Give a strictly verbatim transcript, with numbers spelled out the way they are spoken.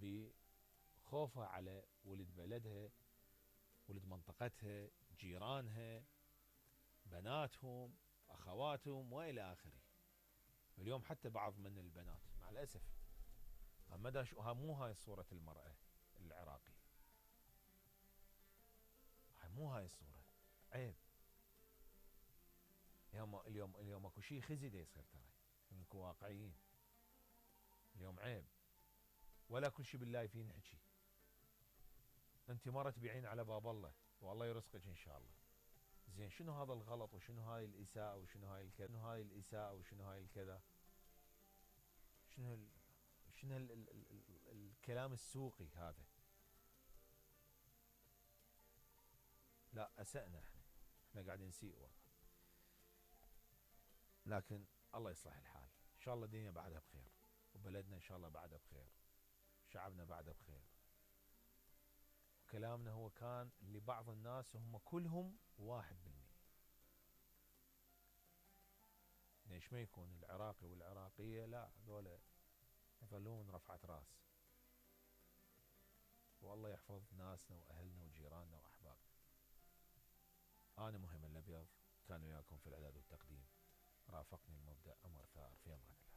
بخوفها على ولد بلدها، ولد منطقتها، جيرانها، بناتهم، اخواتهم والى اخره. اليوم حتى بعض من البنات مع الاسف مو هاي صورة المرأة العراقية، مو هاي الصورة، عيب. اليوم اليوم اليوم اكو شيء خزي دا يصير، ترى نكون واقعيين. اليوم عيب، ولا كل شيء بالله نحكي. انت مرة تبيعين على باب الله والله يرزقك ان شاء الله. زين شنو هذا الغلط وشنو هاي الاساءة وشنو هاي الكذا، شنو هاي الاساءة وشنو هاي الكذا، شنو ال... شنو ال... ال... ال... ال... الكلام السوقي هذا؟ لا اسأنا احنا، احنا قاعدين نسيء والله. لكن الله يصلح الحال، ان شاء الله الدنيا بعدها بخير، وبلدنا ان شاء الله بعدها بخير، شعبنا بعده بخير. كلامنا هو كان لبعض الناس هم كلهم واحد بالمئة. ليش ما يكون العراقي والعراقية لا هذولا يظلون رفعة راس. والله يحفظ ناسنا واهلنا وجيراننا واحبابنا. انا مهم الابيض، كان وياكم في الاعداد والتقديم، رافقني المبدع عمر ثار، في امان الله.